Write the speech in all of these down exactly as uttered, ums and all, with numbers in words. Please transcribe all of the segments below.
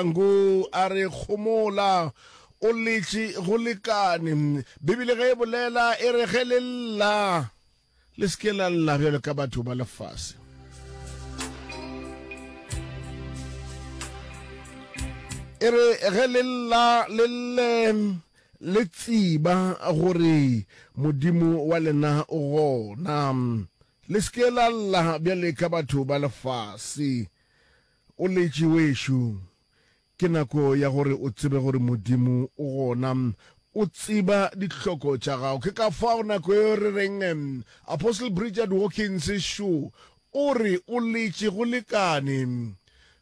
Mahlangu a re kgomola o letše go lekane. Bibele ge e bolela e re ge le lla le se ke la lla bjalo ka batho ba lefase. E re ge le lla le lle le tseba gore Modimo wa lena o gona. Le se ke la lla bjale ka batho ba lefase. O letše wešo. Ke nako ya gore o tsebe gore Modimo o gona. O tseba dihloko tša gago. Ke ka fao nako yeo re reng Apostle Bridget Hawkins šo o re o letše go lekane.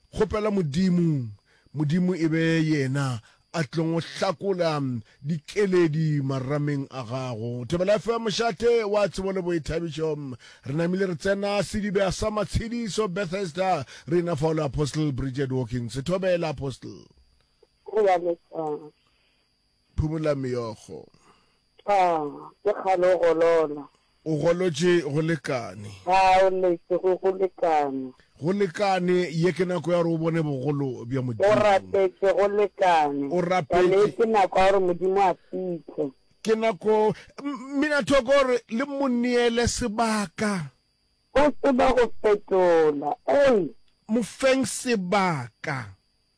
Kgopela Modimo, Modimo e be yena a tlong hlakola dikeledi marameng a gago. Thobela F M mošate wa tsebo le boithabišo. Re namile re tsena sedibea sa matshediso Bethesda re ena fao le Apostle Bridget Hawkins. Thobela Apostle. Go ya letšatši. Phumula meokgo. Ah, ke kgale o golola. O golotše go lekane. A o letše go go lekane. Go lekane, ye ke nako ya gore o bone bogolo bja Modimo. O rapetše go lekane. O rapetše. Bjale ke nako ya gore Modimo a fihle. Ke nako, mmina thoko gore le mo neele sebaka. O tseba go fetola. Ei! Mo feng sebaka.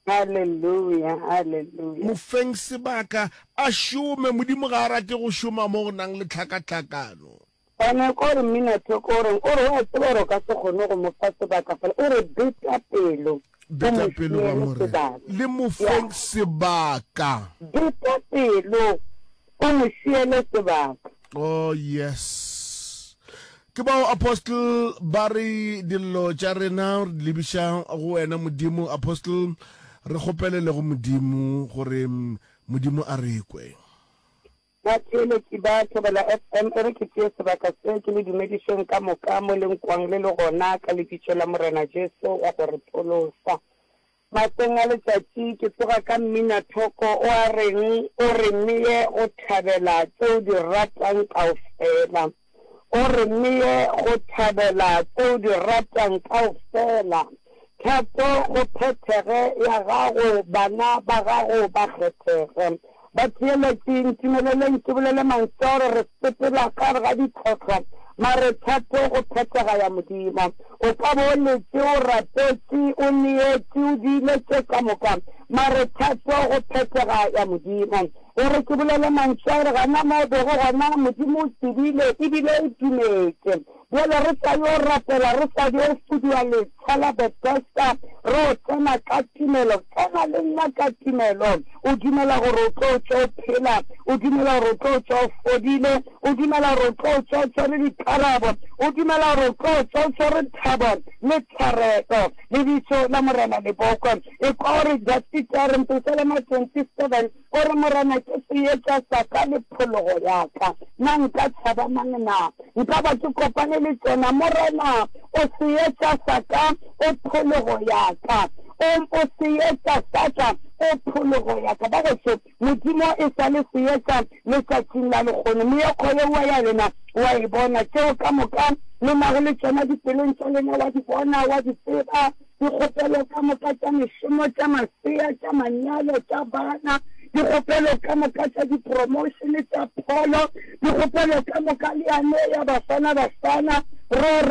Haleluya, haleluya. Mo feng sebaka a šome. Modimo ga a rate go šoma mo go nang le tlhakatlhakano. Gona ko re mmina thoko o reng? O re wa tseba gore o ka se kgone go mo fa sebaka fela. O re beta pelo, o Beta mo pelo ba šiele Morena. sebaka. Le mo Ya. feng sebaka. Beta pelo, o mo šiele sebaka. Oh yes. Ke bao Apostle ba re dillo tša rena re di lebiša go wena Modimo. Apostle re kgopelele go Modimo gore Modimo a re kwe. Batheeletši ba Thobela F M, e re ke tšee sebaka se ke le dumedišeng ka moka mo le nkwang le le gona ka lebitso la Morena Jesu wa go re pholosa. Maseng a letšatši ke tsoga ka mminathoko o a reng o re neye go thabela tše o di ratang kaofela. O re neye go thabela tše o di ratang kaofela. Thato go phethege ya gago, bana ba gago ba kgethege. Batheeletši, ntumeleleng ke bolele mantšu a gore re sepela ka gare ga ditlhohlo, mare thato go phethega ya Modimo. O ka ba o letše, o rapetše, o neetše, o diile tše ka moka, mare thato go phethega ya Modimo. E re ke bolele mantšu a gore gana mo o bego gona, Modimo o tsebile ebile o dumetše. Bjale re sa yo rapela, re sa yo fuduwa letsha la Bethesda, re o tsena ka tumelo. Tsena le nna ka tumelo. O dumela gore o tlo tšwa o phela, o dumela gore o tlo tšwa o fodile, o dumela gore o tlo tšwa o tshwere dikarabo, o dumela gore o tlo tšwa o tshwere thabo le tshwarelo. Lebitso la Morena le bokwe. Ekwa gore Dafida a re, Pesalema twenty-seven, o re, Morena ke seetša sa ka le phologo ya ka, na nka tšhaba mang na? Nka ba ke kopane le tšona. Morena, o seetša sa ka, o phologo ya ka. O, o seetša sa ka, o phologo ya ka. Bagešo, Modimo e sa le seetša letšatšing la lehono. Meokgo yeo ya lena wa e bona. Tšeo ka moka le nago le tšona dipelong tša lena wa di bona, wa di tseba. Dikgopelo ka moka tša mešomo, tša masea, tša manyalo, tša bana, dikgopelo ka moka tša dipromošene, tša pholo, dikgopelo ka moka le yane ya Bafana Bafana, ro